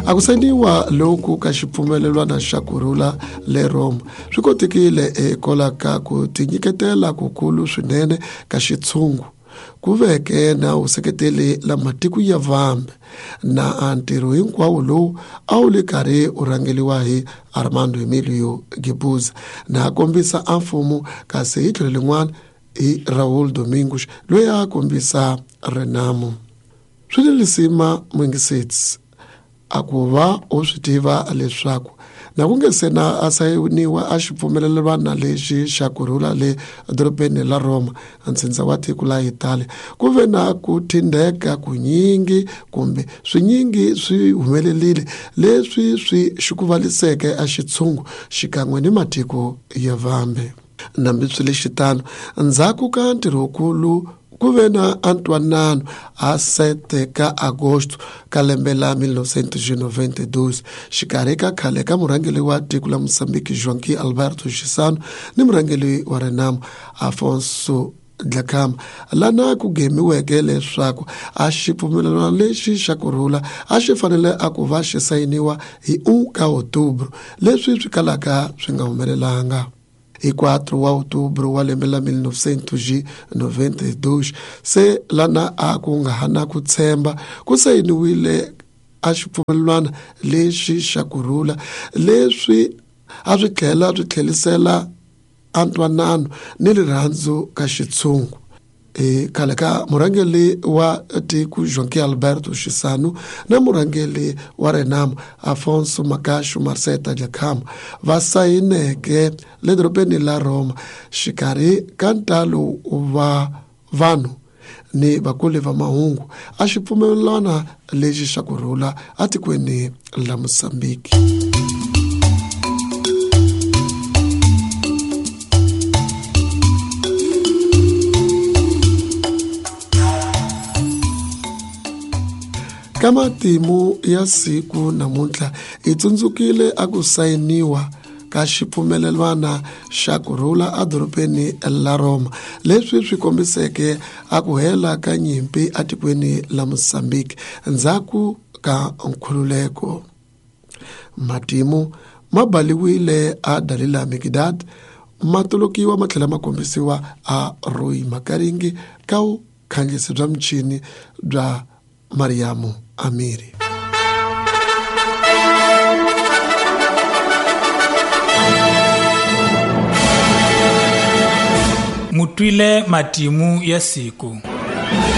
A ku sayiniwa loku ka xipfumelelwana xa kurhula le Roma swi kotekile hikwalaho ka ku tinyiketela kukulu swinene ka xitshungu ku veke na vuseketeli la matiko ya vambe na ntirho hinkwawo lowu a wu le karhi u rhangeliwa hi Armando Emilio Guebuza na kombisa a mfumo, kasi hi tlhelo lin'wana hi Raul Domingos loyi a kombisa Renamo. Swi ni lisima muyingiseti a ku va u swi tiva leswaku na ku nge se na a sayiniwa a xipfumelelwana lexi xa kurhula le dorobeni la Roma, ntsindza wa tiko la Italy, ku ve na ku thindeka kunyingi kumbe swinyingi swi humelerile leswi swi xikuvaliseke a xitshungu xikan'we ni matiko ya vambe. Nambi swi le xitano, ndzhaku ka ntirho wukulu ku ve na antwanano a 7 ka agosto ka lembe la 1992 xikarhi ka khale ka murhangeri wa tiko la Mozambique Joaquim Alberto Chissano ni murhangeri wa Renamo Afonso Dhlakama, lana ku gemiweke leswaku a xipfumelelano lexi xa kurhula a xi fanele a ku va xi sayiniwa hi 1 ka Outubro, leswi swi kalaka swi nga humelelanga. Hi 4 wa Outubro wa lembe la 1992 se lana a ku nga ha na ku tshemba ku sayiniwile a xipfumelelwana lexi xa kurhula leswi a swi tlhela swi tlhelisela antwanano ni rirhandzu ka xitshungu. Khale ka murhangeri wa tiko Joaquim Alberto Chissano na murhangeri wa Renamo Afonso Magasho Marceta Dhlakama va sayineke le dorobeni la Roma xikarhi ka ntalo wa vanhu ni vakuli va mahungu a xipfumelelwana lexi xa kurhula atikweni la Mozambique. Ka matimu ya siku namuntlha hi tsundzukile a ku sayiniwa ka xipfumelelwana xa kurhula edorobeni la Roma, leswi swi kombiseke a ku hela ka nyimpi atikweni la Mozambique ndzhaku ka nkhululeko. Matimu ma baliwile a Dalila Mikdad, ma tolokiwa ma tlhela ma kombisiwa a Roy Makaringi ka vukhandziyisi bya michini bya Mariamu Amiri. Mutwile matimu ya siku.